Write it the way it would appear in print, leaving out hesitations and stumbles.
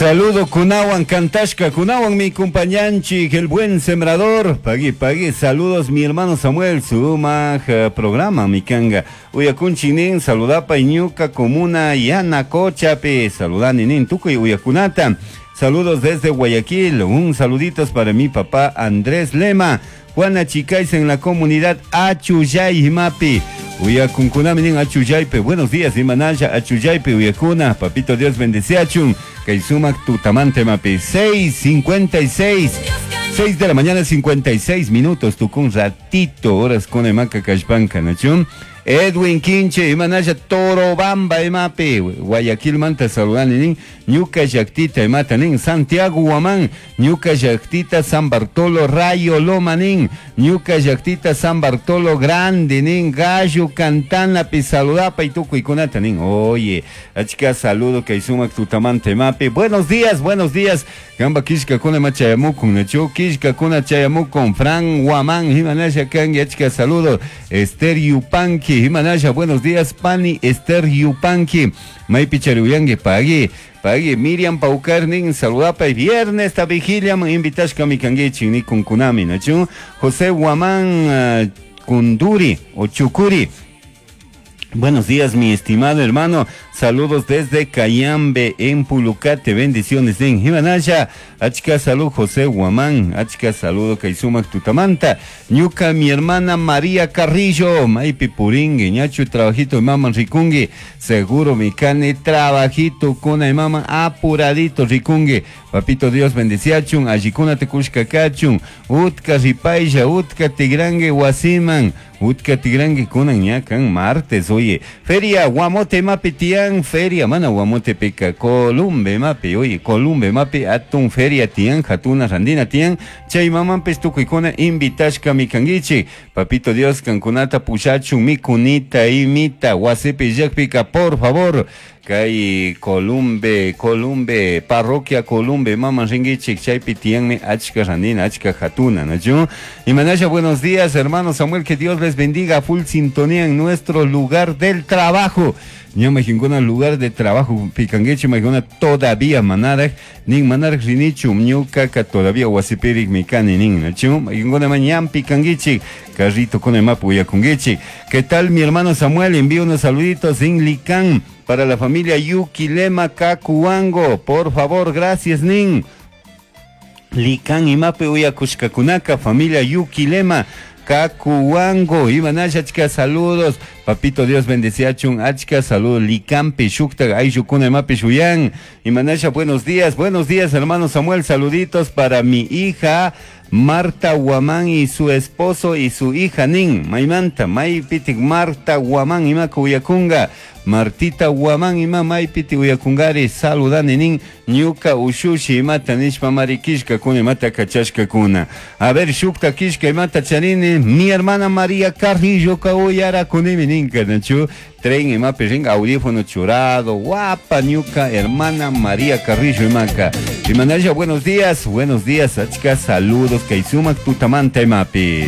Saludo kunawan kantashka kunawan mi compañanchik el buen sembrador. Pagui pagui saludos mi hermano Samuel sumak programa mi kanga. Uyakunchik nin saludapa ñuka comuna Yanacochapi saludani nin tukuy uyakunata. Saludos desde Guayaquil. Un saluditos para mi papá Andrés Lema. Juana Chicais en la comunidad Achuyay Mapi. Uyakunkunami nin Achuyaype. Buenos días, Imanaya Achuyaype Uyakuna. Papito Dios bendeciachun. Kay sumak tutamante mapi. 6:56. 6 de la mañana 56 minutos. Tukun ratito. Horas con emaca kashpanka nachun. Edwin Quinche, Imanaya Torobamba imapi. Guayaquil manta saludani nin. Ñuka llaktita imata nin. Santiago Guamán, Ñuka llaktita San Bartolo Rayo Loma nin. Ñuka llaktita San Bartolo Grande nin. Gallo Cantana pi saludapa y tukuykunata nin. Oye, achka saludo kay sumak tutamante mapi. Buenos días, buenos días. Gamba kishkakuna ima chayamukun, nachu kishkakuna chayamukun. Fran Guamán, Imanaya kangi, achka saludo. Esther Yupanqui, Imanaya, buenos días, Pani Esther Yupanqui. Maypi chariuyangi, pagui. Pagui, Miriam Paucarnin, saludapa y viernes esta vigilia, invitashka mi kanguichi, ni kunkunami, nachu. José Guamán, Kunduri o Chucuri. Buenos días, mi estimado hermano. Saludos desde Cayambe, en Pulucate. Bendiciones en Jimanaya. Achka salud, José Guamán. Achka saludo, Kaisumak Tutamanta. Ñuka, mi hermana María Carrillo. Maipi Puringui, ñachu trabajito, mama ricungui. Seguro, mi cane, trabajito, kuna mama apuradito, ricungui. Papito Dios bendeciachun. Allikuna tekushka kachun. Utka ripaylla, utka tigrangue, wasiman. Utka tigrangue kunan ña kan martes, oye. Feria Guamote mapi tian, feria, mana Guamote pica, Columbe mapi, oye, Columbe mapi, atun feria tian, jatuna randina tian, chay mamanpis tukuykuna invitashka mikanguichi. Papito Dios kankunata pushachun mikunita imita, wasipi llakpika, por favor. Kay Columbe, Columbe, parroquia Columbe, mama ringuichik, chaypi tianmi achka randina, achka jatuna, ¿no? Y Manaya, buenos días, hermano Samuel, que Dios les bendiga, full sintonía en nuestro lugar del trabajo. Ñama jinkuna lugar de trabajo picangueche majuna todavía manaraj nin manaraj rinichu ñukaka todavía wasipirik mikani nin nachu jinkuna mañan picanguichi carrito con el mapa uyakunguichi. ¿Qué tal mi hermano Samuel? Envío unos saluditos en Licán para la familia Yuki Lema Kakuango. Por favor, gracias nin. Licán imapi uyakushkakunaka familia Yuki Lema Kakuango, Imanaya, achka saludos. Papito Dios bendeciachun, achka saludos. Licampi, Shukta, Ayukuna, Imapi, Shuyan. Imanaya, buenos días, hermano Samuel. Saluditos para mi hija Marta Guamán y su esposo y su hija Nin. Maymanta, Maypitik, Marta Guamán, Imaka Uyakunga. Martita Guamán, Ima Maypiti Uyakungari, saludani nin. Ñuka ushushi imata nishpa mari kishka kuna imata kachashka kuna. A ver, shukta kishka imata charini, mi hermana María Carrillo ka uyara kunimi ninka, nachu. Tren imapi ringa audífono churado, guapa ñuka hermana María Carrillo imaka. Imanaya, buenos días, achka saludos, kaysumak tutamanta imapis.